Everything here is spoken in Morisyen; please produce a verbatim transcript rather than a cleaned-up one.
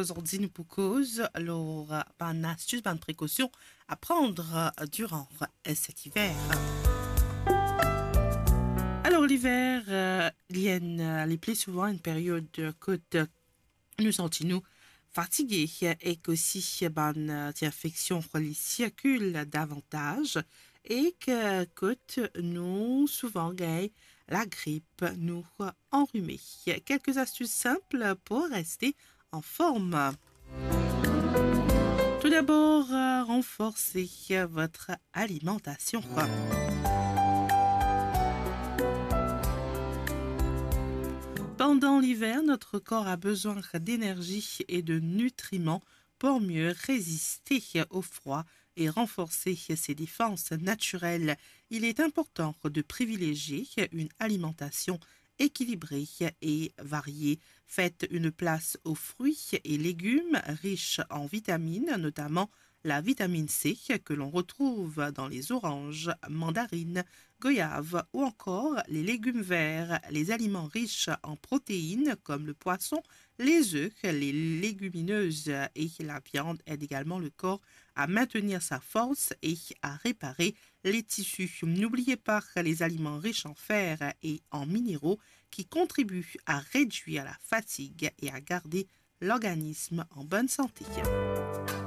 zordi nou pou koz lor bann astis, bann prekosion a pran diran set iver. Alor, liver, eh, li enn, eh, li pli souvan enn period kot nou santi nou fatige ek osi bann, eh, ti infeksion li sirkil davantaz ek kot nou souvan gagn lagrip, nou anrime. Kelke astis sinp pou reste anform. Tout d'abord, euh, renforcez votre alimentation. Pendant l'hiver, notre corps a besoin d'énergie et de nutriments pour mieux résister au froid et renforcer ses défenses naturelles. Il est important de privilégier une alimentation équilibrée et variée. Faites une place aux fruits et légumes riches en vitamines, notamment la vitamine C que l'on retrouve dans les oranges, mandarines, goyaves ou encore les légumes verts. Les aliments riches en protéines comme le poisson, les œufs, les légumineuses et la viande aident également le corps à maintenir sa force et à réparer les tissus. N'oubliez pas les aliments riches en fer et en minéraux qui contribuent à réduire la fatigue et à garder l'organisme en bonne santé.